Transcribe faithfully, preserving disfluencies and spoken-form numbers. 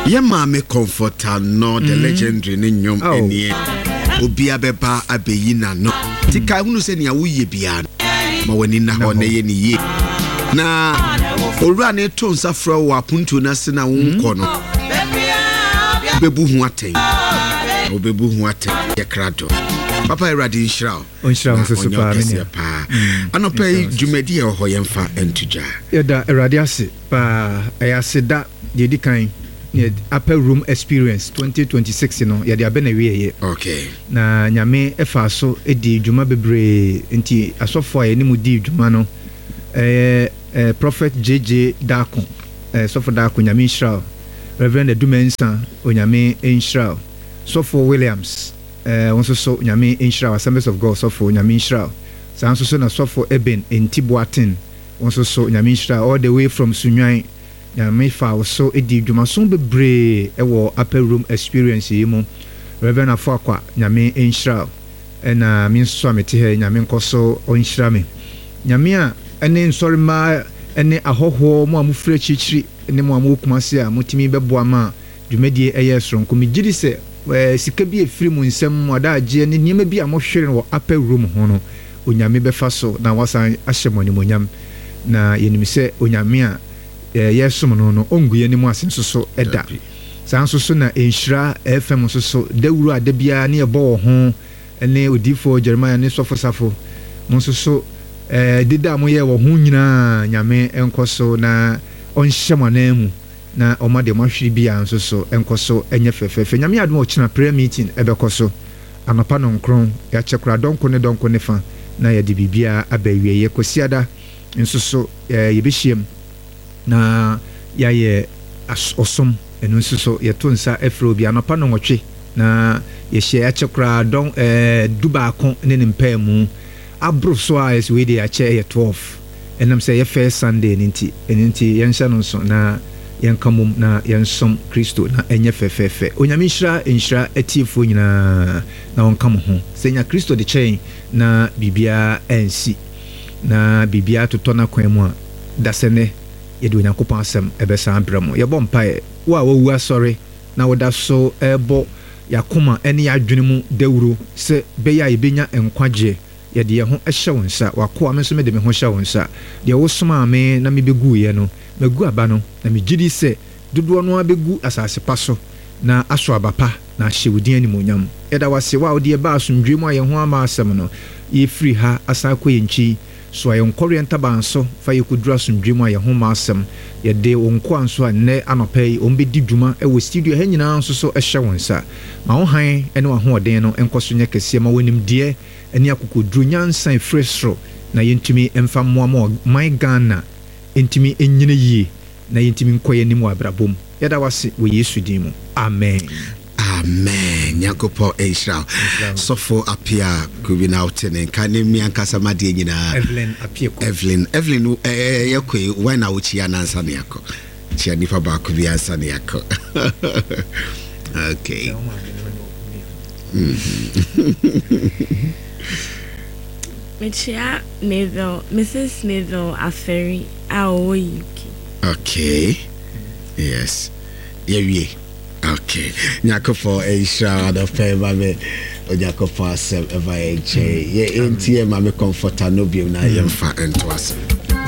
Yɛ maame Comfort Annor, the legendary, ne nnwom Oh. ɛneɛ obia bɛba abɛyi n'ano nti kae hunu sɛ nea woyɛ biara no, ma w'ani na hɔ na ɛyɛ ne yie, na owura ne to nsa frɛ wo wɔ apontuo no ase na wonkɔ no, wobɛbu ho atɛn, wobɛbu ho atɛn. Yɛ krado papa. Awurade nhyira wo. Ɔnhyira wo na nso so ɔnyɛ paa, me ɔkɛseɛ nua. Paa. Anɔpa yi dwumadi a ɛwɔ hɔ, yɛmfa nto dwa. Yɛda Awurade ase paa. Ɛyɛ aseda deɛ ɛdi kan ne Upper Room Experience twenty twenty-six no, yɛde abɛ na wieɛ. Okay na Nyame ɛfa so di dwuma bebree, nti asɔfo a yɛne mu dii dwuma no ɛyɛ eh, Prophet J J Daako, eh, Sɔfo Daako, Nyame nhyira wo. Reverend Adumansa, Onyame nhyira wo. Sɔfo Williams, eh, wo nso so Nyame nhyira wo. Assemblies of God sɔfo, Nyame nhyira wo. Saa nso so na Sɔfo Eben Enti Boaten, wo nso so Nyame nhyira wo, all the way from Sunwan. Nyame fa wo so di dwumaso bebree ɛwɔ Upper Room Experience yi mu. Reverend Afoakwa, Nyame nhyira wo. Ɛna me nso so a mete ha yi, Nyame nkɔ so ɔnhyira me. Nyame a ɛne nsɔremmaa ɛne ahɔhoɔ mo a mofiri akyirikyiri ne mo a mowɔ Kumase a motumi bɛboa ma dwumadie ɛyɛ soronko, megye di sɛ ɛɛ, sika bi efiri mo nsam, mo adagyeɛ ne nneɛma bi a mohwere no wɔ Upper Room ho no, Onyame bɛfa so na wasan ahyɛ mo animonyam. Na yɛnim sɛ Onyame a ɛɛ, yɛsom no no ɔngu yɛn anim ase nso so ɛda. Dabi. Saa nso so na Nhyira F M nso so dawuro a da biara ne yɛbɔ wɔ ho ne Odiifoɔ Jeremiah ne Sɔfo Safo mo nso so, ɛɛ deda a moyɛ wɔ ho nyinaa, Nyame nkɔ so na ɔnhyɛ mo anan mu na ɔma deɛ moahwere biara nso so nkɔ so nyɛ fɛfɛɛfɛ. Nyame adom a, ɔkyena prayer meeting ɛbɛkɔ so anɔpa nɔnkron. Yɛakyɛ koraa dɔnko ne dɔnko ne fa na yɛde biribiara aba awieeɛ. Kwasiada nso so ɛɛ yɛbɛhyiam na yɛayɛ as- ɔsom. Ɛno nso so yɛto nsa afrɛ obi anɔpa nɔnwɔtwe na yɛhyia. Yɛakyɛ koraa dɔn ɛɛ du baako ne ne mpaa mu aboro so a yɛsɛ wei deɛ yɛakyɛ ɛyɛ twelve, ɛnam sɛ ɛyɛ first Sunday no nti. Ɛno nti yɛnhyɛ no nso na yɛnka mom na yɛnsom Kristo na ɛnyɛ fɛfɛɛfɛ. Onyame nhyira nhyira atiefoɔ nyinaa na ɔnka mo ho sɛ nya Kristo de kyɛn na biribiara ansi na biribiara totɔ n'akwan mu a dasɛ nɛ yɛde Onyankopɔn asɛm ɛbɛsan brɛ mo. Yɛbɔ mpaeɛ. Wo a wawu asɔre na woda so ɛrebɔ yɛakoma ne yɛadwene mu dawuro sɛ bɛyɛ a yɛbɛnya nkwagyeɛ, yɛde yɛn ho hyɛ wo nsa. Wakoa me nso mede me ho hyɛ wo nsa. Deɛ wosomaa me na mebɛguiɛ no, magu aba no, na megye di sɛ dodoɔ no ara bɛgu asase pa so na aso aba pa na ahyɛ wo din animuonyam. Yɛda wase wo a wode yɛba asomdwoe mu a yɛn ho ama asɛm no. Yɛfiri ha asan kɔ yɛn nkyi so a yɛnkɔreɛ ntaban so fa yɛkɔduru asomdwoe mu a yɛn ho ma asɛm. Yɛde wo nkoa nso a nnɛ anɔpa yi wɔn bɛdi dwuma wɔ studio ha nyinaa nso so hyɛ wo nsa. Ma wo hann ne w'ahoɔden no nkɔ so nyɛ kɛseɛ. Ma w'animdeɛ ne akokoduro, nyansa ɛfiri soro, na yɛntumi mfa mmoa ma ɔman Ghana ntumi nyina yie na yɛntumi nkɔ yɛn anim wɔ abrabɔ mu. Yɛda wase wɔ Yesu din mu, amen. Amen. Nyankopɔn nhyira wo, Sɔfo Apia Kubi, na wote ne nka ne mmea nkasa ma deɛ nyinaa. Evelyn Apieko. Evelyn, Evelyn, ɛɛ yɛkɔ yi wan na wokyia nansa ne yɛakɔ kyia nipa baako bi ansa ne yɛakɔ. Okay. Mhm. Mekyia Mabel, Missus Mabel Aferi a ɔwɔ U K. Okay, yes, yɛwie. Okay, Nyankopɔn nhyira wo. Adɔpɛ ma me Onyankopɔn asɛm ɛba yɛ nkyɛn. Yɛ ɛnti yɛ ma me Comfort Annor biom na yɛmfa nto ase.